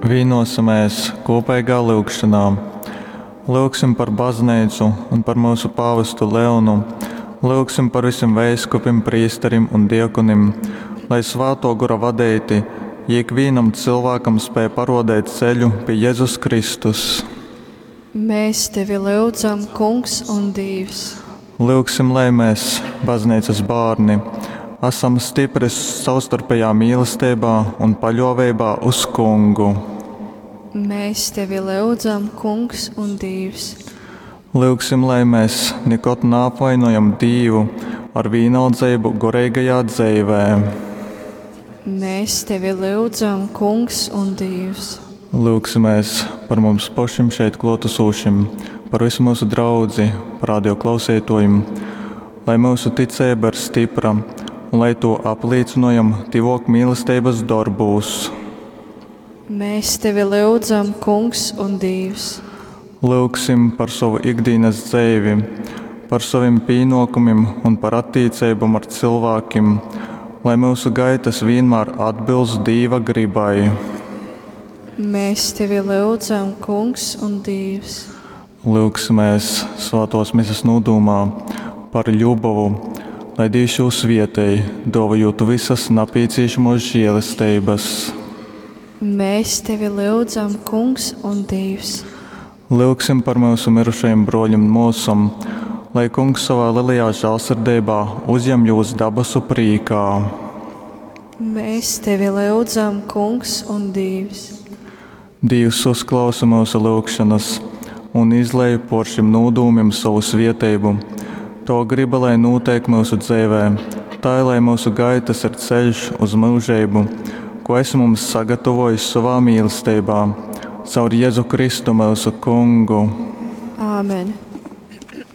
Vīnōsimēs kūpeigā lyugšonā. Lyugsim par Bazneicu un par myusu pāvestu Leonu, lyugsim par vysim veiskupim, prīsterim un diakonim, lai, Svātō Gora vadeiti, jī ikvīnam cylvākam spēj parōdeit ceļu pi Jezus Kristus. Mēs tevi lyudzam, Kungs un Dīvs. Lyugsim, lai mes, Bazneicas bārni, asam stipri savstarpejā mīlesteibā un paļōveibā uz Kungu. Mēs tevi lyudzam, Kungs un Dīvs. Lyugsim, lai mes nikod naapvainojam Dīvu ar vīnaldzeibu goreigajā dzeivē. Mēs tevi lyudzam, Kungs un Dīvs. Lyugsimēs par mums pošim šeit klōtasūšim, par vysu myusu draudzi, par radio klauseitōjim, lai myusu ticeiba ir stypra un lai tū aplīcynojam tyvōkmīlesteibas dorbūs. Mēs tevi lyudzam, Kungs un Dīvs. Lyugsim par sovu ikdīnas dzeivi, par sovim pīnōkumim un par attīceibom ar cylvākim, lai myusu gaitas vīnmār atbilst Dīva grybai. Mēs tevi lyudzam, Kungs un Dīvs. Lyugsimēs svātōs mises nūdūmā par Ļubovu, lai Dīvs jū svietej, dōvojūt vysas napīcīšamōs žielesteibas. Mēs tevi lyudzam, Kungs un Dīvs. Lyugsim par myusu myrušajim brōļim un mōsom, lai Kungs sovā lelajā žālsirdeibā uzjem jūs dabasu prīkā. Mēs tevi lyudzam, Kungs un Dīvs. Dīvs uzklausa myusu lyugšonas un izlej pōr šim nūdūmim sovu svieteibu. Tova griba lai nūteik myusu dzeivē, tai, lai myusu gaitas ir ceļš uz myužeibu, ko esi mums sagatavojis sovā mīlesteibā. Caur Jezu Kristu myusu Kungu. Āmen.